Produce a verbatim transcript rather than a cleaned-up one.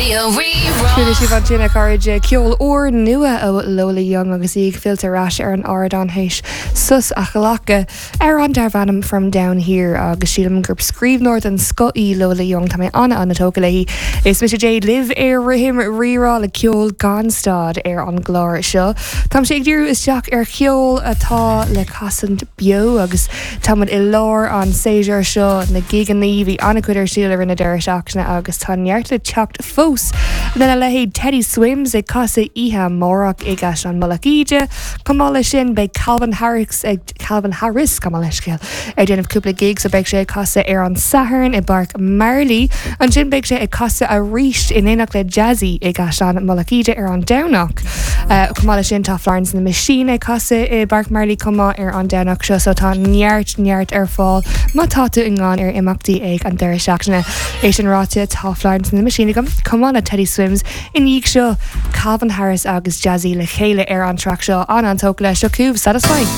Raidió Rí-Rá. Chuala sibh ansin a chairde ceol úr nua ó Lola Young agus í ag filleadh ar ais ar an ardán théis sos a ghlacadh ar an darb ainm From Down Here agus sílim gur scríbhneoir den scoth í Lola Young tá mé an an-tógtha léi. Is mise Jade libh ar rithim Rí-Rá le ceol gan stad ar an gclár seo. Tá sé ag díriú isteach ar cheol atá le casadh beo agus táimid i lár an séasúr seo na gigeanna bhí an-chuid ar siúl ar na deireadh seachtaine agus tá neart le teacht fós. Lena leithéid Teddy Swims ag casadh oíche amárach i gCaisleán Mullach Íde, Comála sin beidh Calvin Harris ag Calvin Harris gabh mo leithscéal ag déanamh cúpla gig so beidh sé ag casadh ar an Satharn i bPáirc Marley. Ansin beidh sé ag casadh arís in éineacht le Jazzy i gCaisleán Mullach Íde ar an Domhnach. Uh, Chomh sin tá Florence and the Machine ag casadh i bPáirc Marley chomh maith ar an Domhnach seo so tá neart neart ar fáil má tá tú i ngán ar imeachtaí ag an deireadh seachtaine. É sin ráite tá Florence and the Machine agam chomh maith le Teddy Swims i ndiaidh seo Calvin Harris agus Jazzy le chéile ar an traic seo an an-tógtha leis seo chugaibh Satisfy.